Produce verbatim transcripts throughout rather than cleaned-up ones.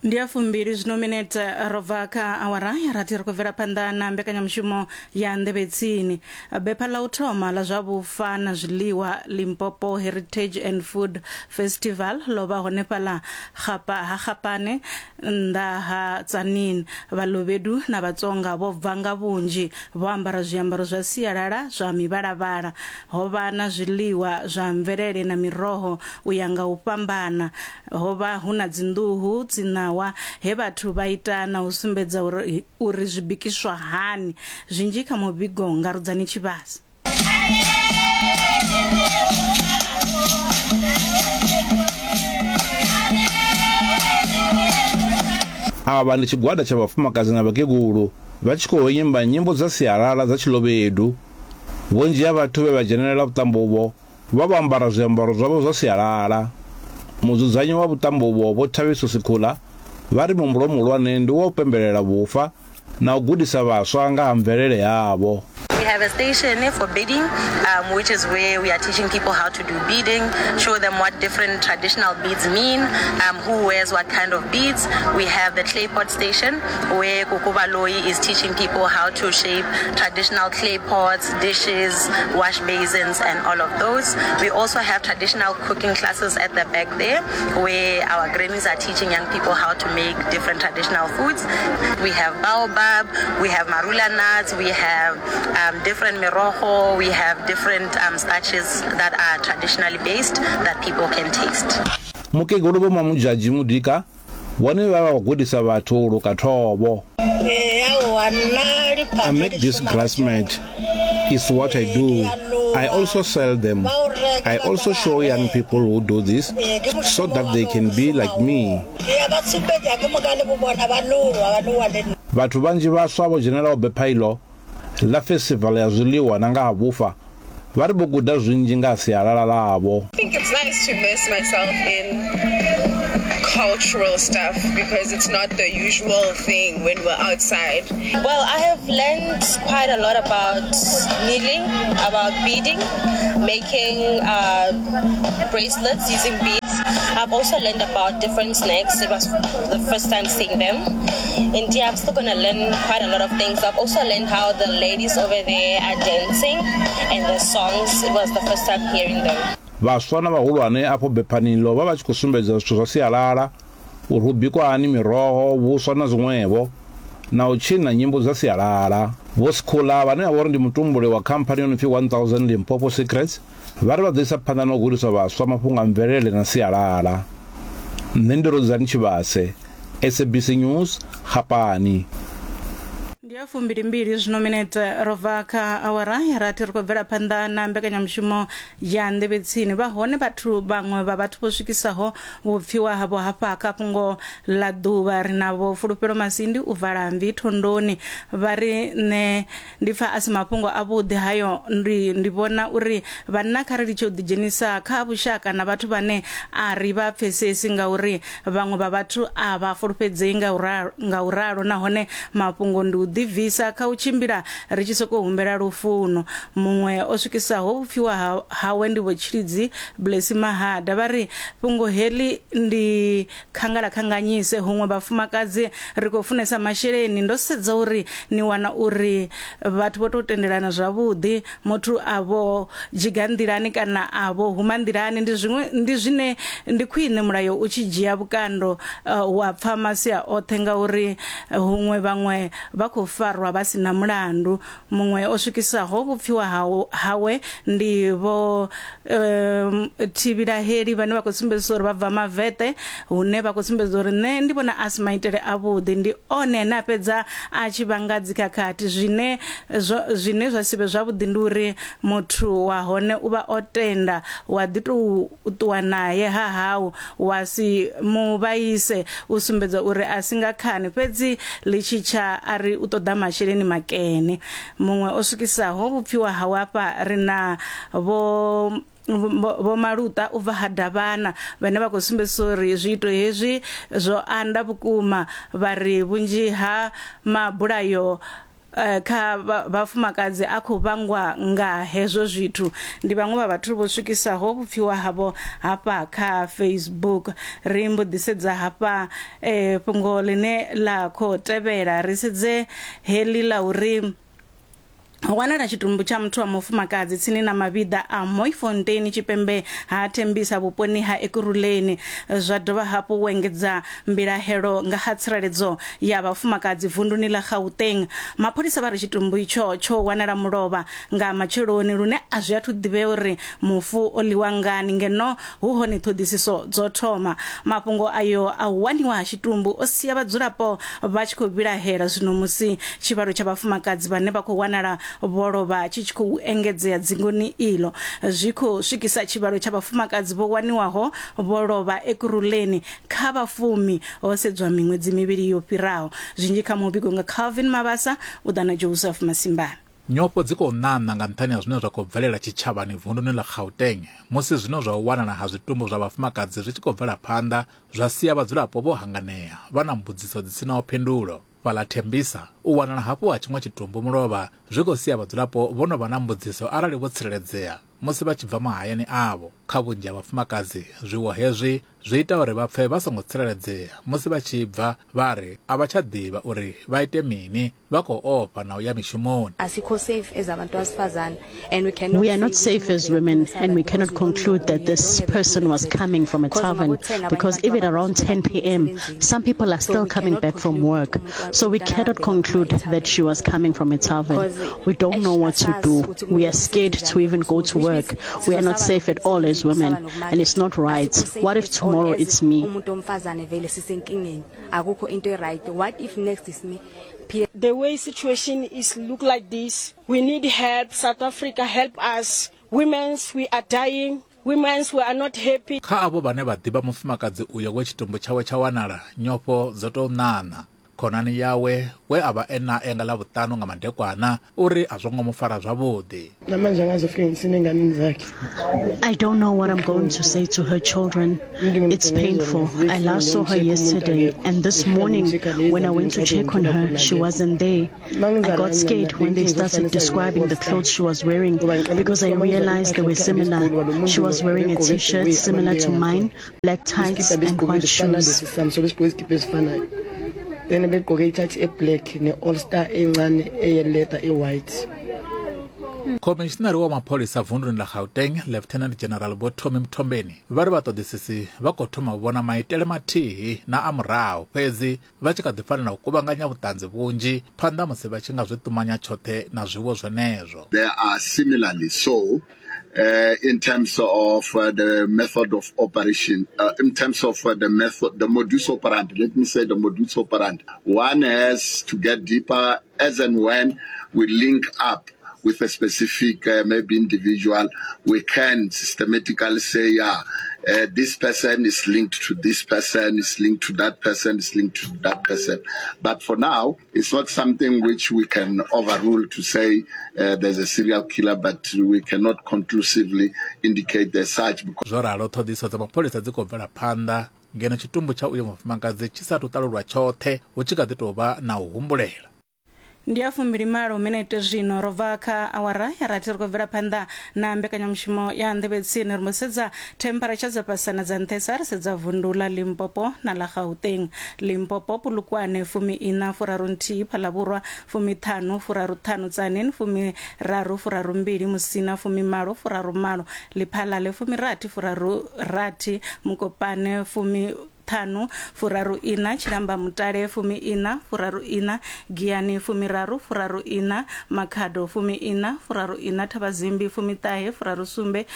Ndi ya fumbili zwino minete ro bva kha awara ya rathi, ri khou bvela phanḓa na mbekanyamushumo ya Nḓevhetsini. Bepha ḽa u thoma ḽa zwa vhufa na zwiḽiwa, Limpopo Heritage and Food Festival, ḽo vha hone fhaḽa Gapa ha Gapane nnḓa ha Tzaneen. Vhalobedu na Vhatsonga vho bva nga vhunzhi vho ambara zwiambaro zwa sialala zwa mivhalavhala. Ho vha na zwiḽiwa zwa mvelele na miroho u ya nga u fhambana. Ho vha hu na dzinḓuhu, dziṋawa, he vhathu vha ita na u sumbedza uri, uri zwi bikiswa hani. Zwinzhi kha muvhigo nga Rudzani Tshivhasa. Avha ndi tshigwada tsha vhafumakadzi na vhakegulu vha tshi khou imba nyimbo dza sialala dza Tshilobedu. Vhunzhi ha vhathu vhe vha dzhenelela vhuṱambo uvho vha vho ambara zwiambaro zwavho zwa sialala. Mudzudzanyi wa vhuṱambo uvho Vho Thabiso Sikhula vha ri muhumbulo muhulwane ndi wa u pembelela vhufa na u gudisa vhaswa nga ha mvelele yavho. We have a station for beading, um, which is where we are teaching people how to do beading, show them what different traditional beads mean, um, who wears what kind of beads. We have the clay pot station where Kukubaloi is teaching people how to shape traditional clay pots, dishes, wash basins, and all of those. We also have traditional cooking classes at the back there where our grannies are teaching young people how to make different traditional foods. We have baobab, we have marula nuts, we have um, different merogo, we have different um, starches that are traditionally based that people can taste. Mukegulu Vho Mamudzhadzhi Mudika vhone vha vha gudisa vhathu u luka thovho. I make this grass mat. It's what I do. I also sell them. I also show young people who do this so that they can be like me. Vhathu vhanzhi vhaswa vho dzhenelaho bepha ilo ḽa festival ya zwiḽiwa na nga ha vhufa vha ri vho guda zwinzhi nga sialala ḽavho. I think it's nice to immerse myself in cultural stuff because it's not the usual thing when we're outside. Well, I have learned quite a lot about kneeling, about beading, making uh, bracelets using beads. I've also learned about different snacks. It was the first time seeing them. And yeah, I'm still gonna learn quite a lot of things. I've also learned how the ladies over there are dancing and the songs. It was the first time hearing them. Vhaswa na vhahulwane afho bephanilo vha vha tshi khou sumbedza zwithu zwa sialala, uri hu bikwa hani miroho, vhuswa na zwiṅwevho, na u tshina nyimbo dza sialala. Vho Sikhula vhane vha vha uri ndi mutumbuli wa khamphani yo no pfi one thousand Limpopo Secrets vha ri vha ḓo isa phanḓa na u gudisa vhaswa mafhungo a mvelele na sialala. Nṋe ndi Rudzani Tshivhase, S A B C News, Gapani. Ndi ya fumbili mbili zwino minete ro bva kha awara ya rathi, ri khou bvela phanḓa na mbekanyamushumo ya Nḓevhetsini. Vha hone vhathu vhaṅwe vha vhathu vho swikisaho vhupfiwa havho hafha kha fhungo ḽa ḓuvha. Ri na Vho Fulufhelo Masindi u bva Lambi Thondoni, vha ri nṋe ndi pfa a si mafhungo avhuḓi hayo. Ndi, ndi vhona uri vhanna kha ri litshe u ḓidzhenisa kha vhushaka na vhathu vhane a ri vha pfesesi, ngauri vhaṅwe vha vhathu a vha fulufhedzei nga u ralo, nahone mafhungo ndi u ḓibvisa kha u tshimbila ri tshi sokou humbela lufuno. Muṅwe o swikisaho vhupfiwa hawe ndi Vho Tshilidzi Blessy Mahada, vha ri fhungo heḽi ndi khangala khanganyise, huṅwe vhafumakadzi ri khou funesa masheleni. Ndo sedza uri ni wana uri vhathu vho tou tendelana zwavhuḓi, muthu a vho dzhiga nḓilani kana a vho huma nḓilani, ndi zwiṅwe ndi zwine ndi khwine mulayo u tshi dzhia vhukando uh, wa pfa masia oṱhe, ngauri huṅwe vhaṅwe vha khou farwa vha sina mulandu. Muṅwe o swikisaho vhupfiwa hawe ndi Vho um, Thivhilaheli vhane vha khou sumbedzisa uri vha bva Mavete, hune vha khou sumbedza uri nṋe ndi vhona a si maitele avhuḓi, ndi one ane a fhedza a tshi vhanga dzikhakhathi. Zwine zwo, zwine zwa sivhe zwavhuḓi ndi uri muthu wa hone u vha o tenda, wa ḓi tou ṱuwa naye ha hau wa si mu vhaise, u sumbedza uri a si nga khani, fhedzi ḽi tshi tsha a ri u ṱoḓa masheleni makene. Muṅwe o swikisaho vhupfiwa hawe hafha ri na Vho Vho Maluta u bva ha Davhana vhane vha khou sumbedzisa uri zwiito hezwi zwo anda vhukuma, vha ri vhunzhi ha mabulayo kha vhafumakadzi a khou vhangwa nga hezwo zwithu. Ndi vhaṅwe vha vhathu vho swikisaho vhupfiwa havho hafha kha Facebook. Ri mbo ḓi sedza hafha eh, fhungo ḽine ḽa khou tevhela, ri sedze heḽi ḽa uri ho wanala tshitumbu tsha muthu wa mufumakadzi tsini na mavhiḓa a Mooifontein tshipembe ha Tembisa vhuponi ha Ekurhuleni. Zwa dovha hafhu u engedza mbilahelo nga ha tsireledzo ya vhafumakadzi vunduni ḽa Gauteng. Mapholisa vha ri tshitumbu itsho tsho wanala mulovha nga matsheloni lune a zwi athu ḓivhea uri mufu o ḽiwa ngani, ngeno hu hone ṱhoḓisiso dzo thoma. Mafhungo ayo a u waniwa ha tshitumbu o sia vhadzulapo vha tshi khou vhilahela zwino musi tshivhalo tsha vhafumakadzi vhane vha khou wanala vho lovha tshi tshi khou engedzea dzingoni ilo. Zwi khou swikisa tshivhalo tsha vhafumakadzi vho waniwaho vho lovha Ekurhuleni kha vhafumi ho sedzwa miṅwedzi mivhili yo fhiraho. Zwinzhi kha muvhigo nga Calvin Mabasa u ḓa na Joseph Masimbana. Nyofho dzi khou ṋaṋa nga nṱhani ha zwine zwa khou bvelela tshitshavhani vunduni ḽa Gauteng musi zwino zwa u wanala ha zwitumbu zwa vhafumakadzi zwi tshi khou bvela phanḓa zwa sia vhadzulapo vho hanganea vha na mbudziso dzi sinaho phindulo. Fhaḽa Tembisa u wanala hafhu ha tshiṅwe tshitumbu mulovha zwi khou sia vhadzulapo vho no vha na mbudziso arali vho tsireledzea musi vha tshi bva mahayani avho. Kha vhunzhi ha vhafumakadzi zwiwo hezwi zwi ita uri vha pfe vha songo tsireledzea musi vha tshi bva, vha ri a vha tsha ḓivha uri vha ite mini, vha khou ofha na u ya mishumoni. Asikho safe as abantu besifazane and we cannot We are not safe as women, and we cannot conclude that this person was coming from a tavern, because even around ten p m some people are still coming back from work. So we cannot conclude that she was coming from a tavern. We don't know what to do. We are scared to even go to work. We are not safe at all as women, and it's not right. What if tomorrow it's me? Umuntu omfazane vele sisenkingeni, akukho into right. What if next is me? The way situation is look like this, we need help. South Africa, help us. Women's, we are dying. Women's, we are not happy. Kha avho vhane vha ḓivha mufumakadzi uyo we tshitumbu tshawe tsha wanala, nyofho dzo tou ṋaṋa. Khonani yawe we a vha e nae nga ḽavhuṱanu nga madekwana uri a zwo ngo mu fara zwavhuḓi. Namanje angazofika ngisine enganeni zakhe. I don't know what I'm going to say to her children. It's painful. I last saw her yesterday, and this morning when I went to check on her, she wasn't there. I got scared when they started describing the clothes she was wearing, because I realized they were similar. She was wearing a t-shirt similar to mine, black tights and white shoes. Sami sobe sigqoke izikipa ezifanayo, then begqoke i-tight e-black ne-all star encane eye-leather e-white. Khomishinari wa mapholisa vunduni ḽa Gauteng, Lieutenant General Vho Tommy Mthombeni, vha ri vhaṱoḓisisi vha khou thoma u vhona maitele mathihi na a murahu, fhedzi vha tshi kha ḓi fanela u kuvhanganya vhuṱanzi vhunzhi phanḓa musi vha tshi nga zwi ṱumanya tshoṱhe na zwiwo zwenezwo. They are similarly so uh, in terms of uh, the method of operation, uh, in terms of uh, the method, the modus operandi. Let me say the modus operandi. One has to get deeper as and when we link up with a specific uh, maybe individual, we can systematically say, yeah, uh, this person is linked to this person, is linked to that person, is linked to that person. But for now, it's not something which we can overrule to say uh, there's a serial killer, but we cannot conclusively indicate as such. Because Zwo ralo ṱhoḓisiso dza mapholisa dzi khou bvela phanḓa ngeno tshitumbu tsha uyo mufumakadzi tshi sa athu ṱalulwa tshoṱhe, hu tshi kha ḓi tou vha na u humbulela. Ndi ya fumbili malo minete zwino ro bva kha awara ya rathi. Ri khou bvela phanḓa na mbekanyamushumo ya nḓevhe tsini. Ri mbo sedza temperature dza fhasana dza nṱhesa, ri sedza vundu ḽa Limpopo na ḽa Gauteng. Limpopo, Polokwane fumi ina furaru nthihi, Phalavhurwa fumi ṱhanu furaru ṱhanu, Tzaneen fumi raru furaru mbili, Musina fumi malo furaru malo, Lephalale fumi rathi furaru rathi, Mokopane fumi ṱhanu furaru ina, Tshilamba Mutale fumi ina furaru ina, Giyani fumi raru furaru ina, Makhado fumi ina furaru ina, Thabazimbi fumi ṱahe furaru sumbe,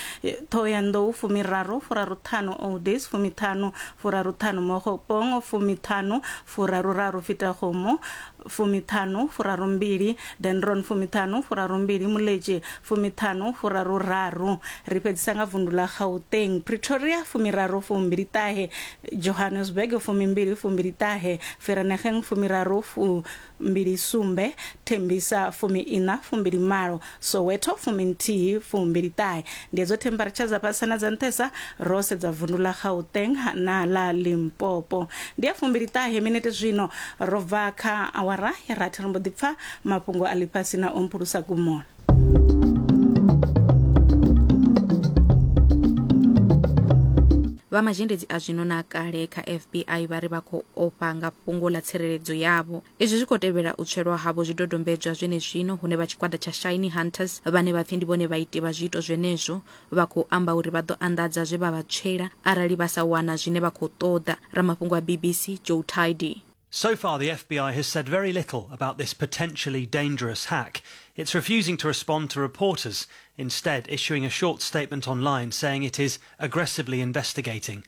Thohoyandou fumi raru furaru ṱhanu, Oudtshoorn fumi ṱhanu furaru ṱhanu, Mookgophong fumi ṱhanu furaru raru, Fetakgomo fumi ṱhanu furaru mbili, Dendron fumi ṱhanu furaru mbili, Moletjie fumi ṱhanu furaru raru. Ri fhedzisa nga vundu ḽa Gauteng, Pretoria fumi raru fumbili ṱahe, Johannesburg fumi mbili fumbili ṱahe, Vereeniging fumi raru fumbili sumbe, Tembisa fumi ina fumbili malo, Soweto fumi nthihi fumbili ṱahe. Ndi hedzo temperature dza fhasana dza nṱhesa ro sedza vundu ḽa Gauteng na ḽa Limpopo. Ndi ya fumbili ṱahe minete zwino ro bva kha awara. awara ya rathi ri mbo ḓi pfa mafhungo a ḽifhasi na Ompulusa Kumola. Vha mazhendedzi a zwino na kale kha F B I vha ri vha khou ofha nga fhungo ḽa tsireledzo yavho. Izwi zwi khou tevhela u tswelwa havho zwidodombedzwa zwenezwino hune vha tshigwada tsha Shiny Hunters vhane vha pfi ndi vhone vhaiti vha zwiito zwenezwo vha khou amba uri vha ḓo anḓadza zwe vha vha tswela arali vha sa wana zwine vha khou ṱoḓa. Ramafhungo a B B C Joe Tidy. So far, the F B I has said very little about this potentially dangerous hack. It's refusing to respond to reporters, instead issuing a short statement online saying it is aggressively investigating.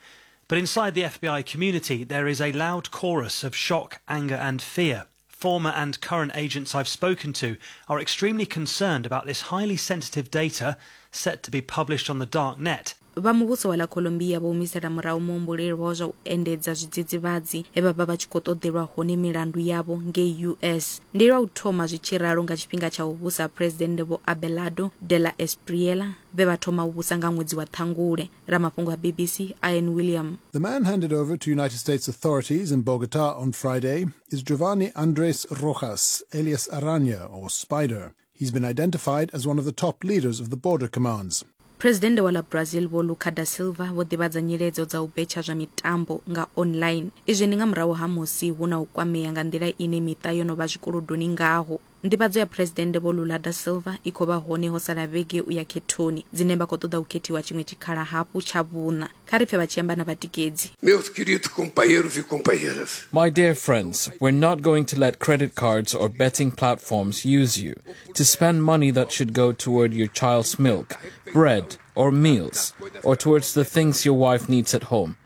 But inside the F B I community, there is a loud chorus of shock, anger and fear. Former and current agents I've spoken to are extremely concerned about this highly sensitive data set to be published on the dark net. Vha muvhuso wa ḽa Colombia vho humisela murahu muhumbulelwa wa zwa u endedza zwidzidzivhadzi he vha vha vha tshi khou ṱoḓelwa hone milandu yavho ngei U S. Ndi lwa u thoma zwi tshi ralo nga tshifhinga tsha u vhusa President Vho Abelardo de la Espriella vhe vha thoma u vhusa nga ṅwedzi wa Ṱhangule. Ramafhungo a B B C Ian William. The man handed over to United States authorities in Bogota on Friday is Giovanni Andres Rojas, alias Araña or Spider. He's been identified as one of the top leaders of the border commands. President wa ḽa Brazil Vho Lula da Silva vho ḓivhadza nyiledzo dza u betsha zwa mitambo nga online. Izwi ndi nga murahu ha musi hu na u kwamea nga nḓila ine miṱa yo no vha zwikolodoni ngaho. Nḓivhadzo ya President Vho Lula da Silva i khou vha hone ho sala vhege u ya khethoni dzine vha khou ṱoḓa u khethiwa tshiṅwe tshikhala hafhu tsha vhuṋa. Kha ri pfe vha tshi amba na vhatikedzi. Meus queridos companheiros e companheiras. My dear friends, we're not going to let credit cards or betting platforms use you to spend money that should go toward your child's milk, bread or meals, or towards the things your wife needs at home.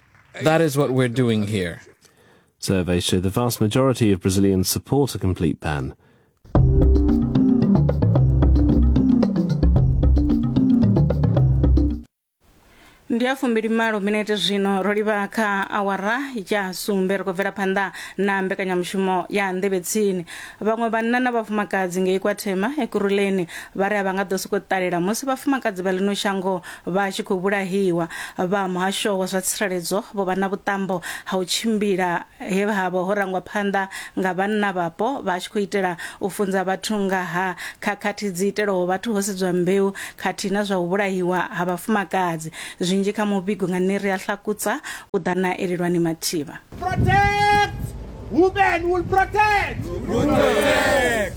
That is what we're doing here. Surveys show the vast majority of Brazilians support a complete ban. Ndi ya fumbili malo minete zwino ro livha kha awara ya sumbe ri khou bvela phanḓa na mbekanyamushumo ya Nḓevhe Tsini. Vhaṅwe vhanna na vhafumakadzi ngei KwaThema Ekurhuleni vha ri a vha nga ḓo sokou ṱalela musi vhafumakadzi vha ḽino shango vha tshi khou vhulahiwa. Vha muhasho wa zwa tsireledzo vho vha na vhuṱambo ha u tshimbila he havho ho rangwa phanḓa nga vhanna vhapo vha tshi khou itela u funza vhathu nga ha khakhathi dzi itelwaho vhathu ho sedzwa mbeu khathihi na zwa u vhulahiwa ha vhafumakadzi. Zwinzhi kha muvhigo nga Neri a Hlakutsa u ḓa na Elelwani Mathivha. Protect! Women will protect! Protect!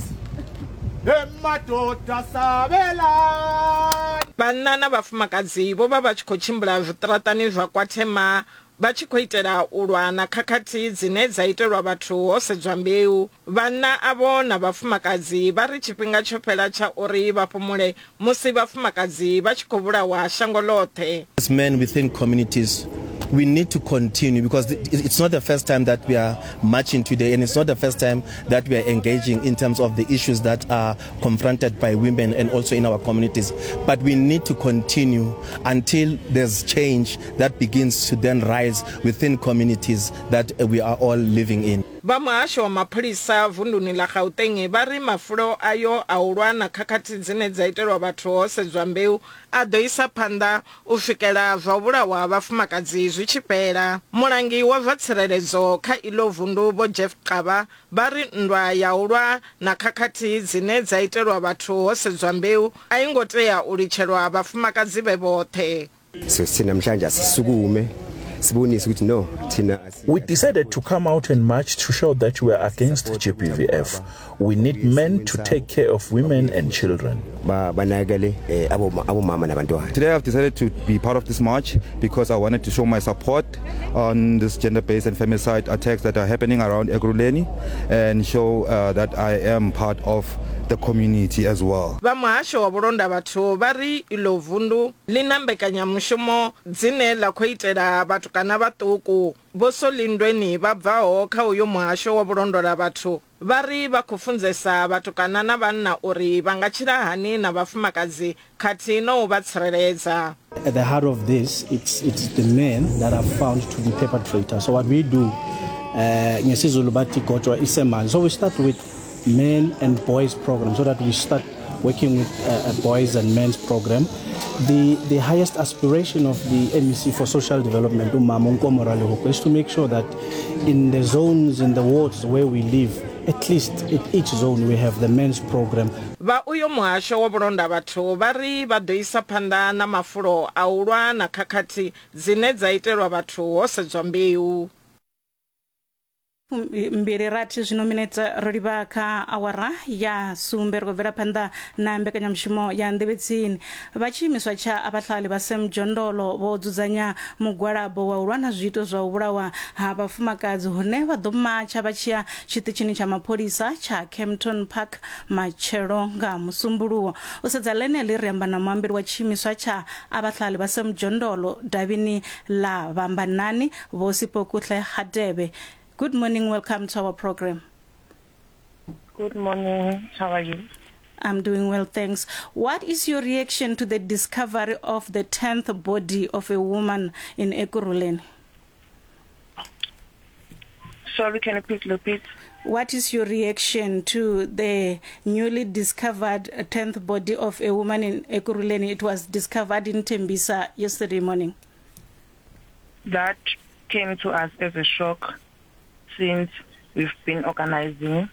Emadoda sabela! Vhanna na vhafumakadzi vho vha vha tshi khou tshimbila zwiṱaraṱani zwa KwaThema vha tshi khou itela u lwa na khakhathi dzine dza itelwa vhathu ho sedzwa mbeu. Vhanna avho na vhafumakadzi vha ri tshifhinga tsho fhela tsha uri vha fhumule musi vhafumakadzi vha tshi khou vhulawa shango ḽoṱhe. As men within communities, we need to continue because it's not the first time that we are marching today, and it's not the first time that we are engaging in terms of the issues that are confronted by women and also in our communities. But we need to continue until there's change that begins to then rise within communities that we are all living in. Vha muhasho wa mapholisa vunduni ḽa Gauteng vha ri mafulo ayo a u lwa na khakhathi dzine dza itelwa vhathu ho sedzwa mbeu a ḓo isa phanḓa u swikela zwa u vhulawa ha vhafumakadzi zwi tshi fhela. Mulangi wa zwa tsireledzo kha iḽo vundu Vho Jeff Xaba vha ri nndwa ya u lwa na khakhathi dzine dza itelwa vhathu ho sedzwa mbeu a i ngo tea u litshelwa vhafumakadzi vhe vhoṱhe. So namhlanje asisukume sibonise ukuthi no thina. We decided to come out and march to show that we are against G B V F. We need men to take care of women and children. Today I've decided to be part of this march because I wanted to show my support on this gender-based and femicide attacks that are happening around Ekurhuleni and show uh, that I am part of the community as well. Vha muhasho wa vhulonda vhathu vha ri iḽo vundu ḽi na mbekanyamushumo dzine ḽa khou itela vhatukana vhaṱuku. Vho Solindweni vha bvaho kha uyo muhasho wa vhulondola vhathu vha ri vha khou funzesa vhatukana na vhanna uri vha nga tshila hani na vhafumakadzi khathihi na u vha tsireledza. At the heart of this, it's, it's the men that are found to be perpetrators. So what we do, uh, ngesiZulu bathi gotshwa isemanzi. So we start with men and boys program, so that we start working with uh, a boys and men's program. The, the highest aspiration of the M E C for social development, Umama Nkomo Ralehoko, is to make sure that in the zones, in the wards where we live, at least in each zone we have the men's program. Vha uyo muhasho wa vhulonda vhathu vha ri vha ḓo isa phanḓa na mafulo a u lwa na khakhathi dzine dza itelwa vhathu ho sedzwa mbeu. Mbili rathi zwino minete ro livha kha awara ya sumbe ri khou bvela phanḓa na mbekanyamushumo ya nḓevhetsini. Vha tshiimiswa tsha Abahlali baseMjondolo vho dzudzanya mugwalabo wa u lwa na zwiito zwa u vhulawa ha vhafumakadzi hune vha ḓo matsha vha tshiya tshiṱitshini tsha mapholisa tsha Kempton Park matshelo nga Musumbuluwo. U sedza ḽeneḽi ri amba na muambeli wa tshiimiswa tsha Abahlali baseMjondolo davhini ḽa Vhambanani Vho Siphokuhle Hadebe. Good morning, welcome to our program. Good morning, how are you? I'm doing well, thanks. What is your reaction to the discovery of the tenth body of a woman in Ekurhuleni? Sorry, can you please repeat? What is your reaction to the newly discovered tenth body of a woman in Ekurhuleni? It was discovered in Tembisa yesterday morning. That came to us as a shock, since we've been organizing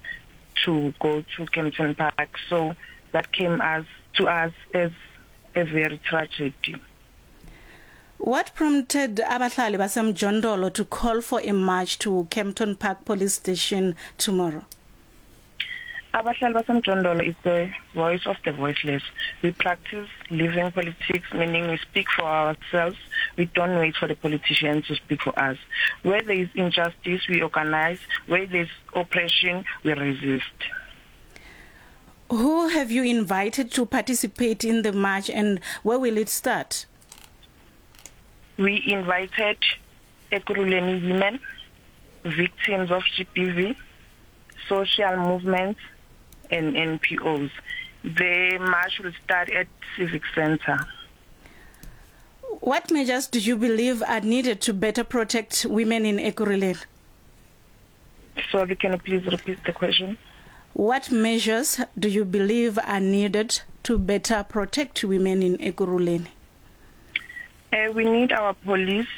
to go to Kempton Park. So that came as to us as a very tragedy. What prompted Abahlali baseMjondolo to call for a march to Kempton Park Police Station tomorrow? Abahlali baseMjondolo is the voice of the voiceless. We practice living politics, meaning we speak for ourselves. We don't wait for the politicians to speak for us. Where there is injustice, we organize. Where there is oppression, we resist. Who have you invited to participate in the march, and where will it start? We invited Ekurhuleni women, victims of G B V, social movements, and N P Os. The march will start at Civic Center. What measures do you believe are needed to better protect women in Ekurhuleni? Sorry, can you please repeat the question? What measures do you believe are needed to better protect women in Ekurhuleni? Uh, we need our police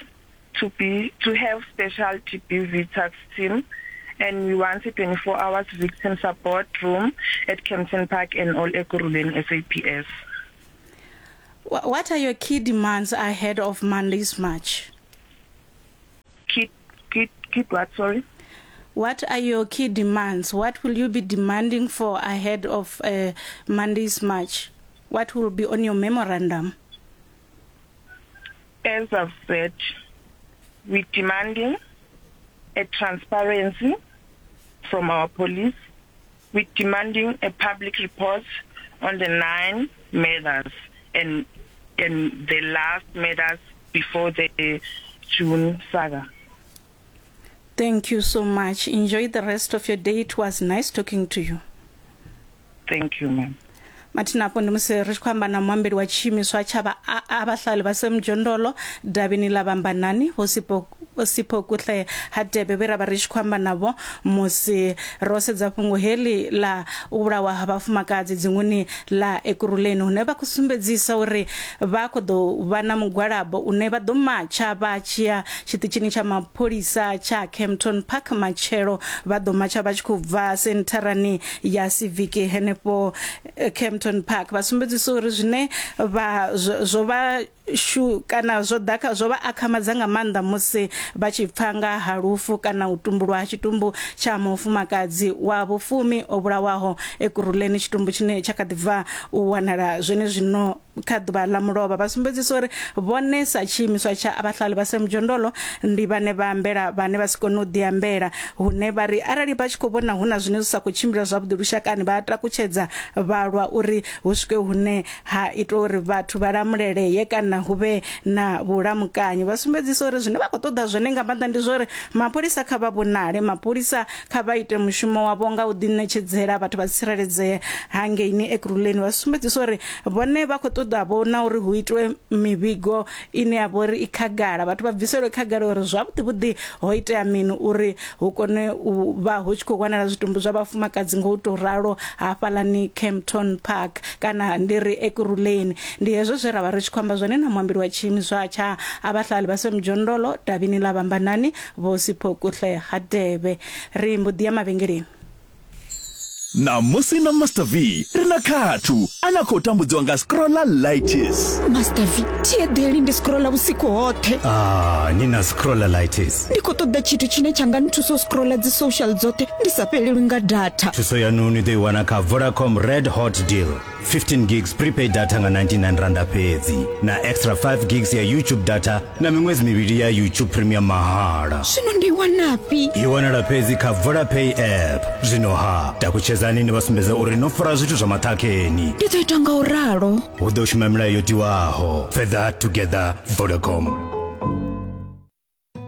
to be to have special G B V task team, and we want a twenty-four hours victim support room at Kempton Park and all Ekurhuleni S A P S. What are your key demands ahead of Monday's march? Key, key, key what, sorry? What are your key demands? What will you be demanding for ahead of uh, Monday's march? What will be on your memorandum? As I've said, we're demanding a transparency from our police. We're demanding a public report on the nine murders and and the last murders before the June saga. Thank you so much. Enjoy the rest of your day. It was nice talking to you. Thank you, ma'am. Mathina afho ndi musi ri tshi khou amba na muambeli wa tshiimiswa tsha Abahlali baseMjondolo davhini ḽa Vhambanani Vho Siphokuhle Hadebe vhe ra vha ri tshi khou amba navho musi ro sedza fhungo heḽi ḽa u vhulawa ha vhafumakadzi dzinguni ḽa Ekurhuleni, hune vha khou sumbedzisa uri vha khou ḓo vha na mugwalabo une vha ḓo matsha vha tshiya tshiṱitshini tsha mapholisa tsha Kempton Park matshelo. Vha ḓo matsha vha tshi khou bva sentharani ya Civic henefho Kempton Park. Vha sumbedzisa uri zwine vha zwo vha shu kana zwo ḓa zwo vha akhamadza nga maanḓa musi vha tshi pfa nga ha lufu kana u tumbulwa ha tshitumbu tsha mufumakadzi wa vhufumi o vhulawaho Ekurhuleni, tshitumbu tshine tsha kha ḓi bva u wanala zwene zwino kha ḓuvha ḽa mulovha. Vha sumbedzisa uri vhone sa tshiimiswa tsha Abahlali baseMjondolo ndi vhane vha ambela vhane vha si kone u ḓiambela, hune vha ri arali vha tshi khou vhona hu na zwine zwi sa khou tshimbila zwavhuḓi lushakani vha takutshedza vha lwa uri hu swike hune ha itwa uri vhathu vha lamuleleye kana hu vhe na vhulamukanyi. Vha sumbedzisa uri zwine vha khou ṱoḓa zwone nga maanḓa ndi zwa uri mapholisa kha vha vhonale, mapholisa kha vha ite mushumo wavho nga u ḓiṋetshedzela vhathu vha tsireledzee hangeini Ekurhuleni. Vha sumbedzisa uri vhone vha khou ṱoḓa vhona uri hu itwe mivhigo ine ya vha uri i khagala, vhathu vha bviselwe khagala uri zwavhuḓi vhuḓi ho itea mini uri hu kone u vha hu tshi khou wanala zwitumbu zwa vhafumakadzi ngo u tou ralo hafhaḽani Kempton Park kana ndi ri Ekurhuleni. Ndi hezwo zwe ra vha ri tshi khou amba zwone na muambeli wa tshiimiswa tsha Abahlali baseMjondolo davhini ḽa Vhambanani Vho Siphokuhle Hadebe. Ri mbo ḓi ya mavhengeleni. Ṋamusi na Master V ri na Khathu ane a khou tambudziwa nga scrollalitis. Master V, thi eḓeli, ndi scrolla vhusiku hoṱhe. Ah, ni na scrollalitis. Ndi khou ṱoḓa tshithu tshine tsha nga nthusa u scrolla dzi social dzoṱhe ndi sa fhelelwi nga data. Thuso yanu ni ḓo i wana kha Vodacom Red Hot Deal. fifteen gigs prepaid data nga ninety-nine randa fhedzi na extra five gigs ya YouTube data na miṅwedzi mivhili ya YouTube Premium mahala. Zwino ndi i wanafhi? I wanala fhedzi kha Vodapay app. Zwino ha takutshedzani ni vha sumbedza uri no fara zwithu zwa maṱhakheni. Ndi ḓo ita nga u ralo. Hu ḓo shuma milayo yo tiwaho. Further together, Vodacom.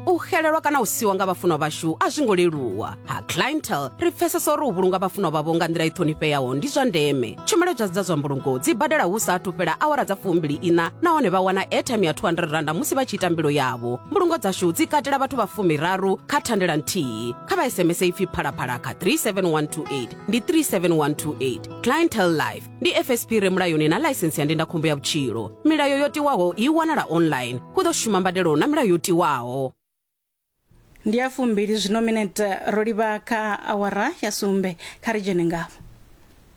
U xelelwa kana u siwa nga vhafunwa vhashu a zwi ngo leluwa. Ha Clientele ri pfesesa uri u vhulunga vhafunwa vhavho nga nḓila i ṱhonifheaho ndi zwa ndeme. Tshumelo dza dza zwa mbulungo dzi badela hu sa athu fhela awara dza fumbili ina nahone vha wana airtime ya two hundred randa musi vha tshi ita mbilo yavho. Mbulungo dzashu dzi katela vhathu vha fumiraru kha thandela nthihi. Kha vha S M S ipfi phalaphala kha three seven one two eight ndi three seven one two eight. Clientele Life ndi F S P re mulayoni na ḽaisensi ya ndindakhombo ya vhutshilo. Milayo yo tiwaho i wanala online. Hu ḓo shuma mbadelo na milayo yo tiwaho. Ndi ya fumbili zwino minete ro livha kha awara ya sumbe. Kha ri dzhene ngafho.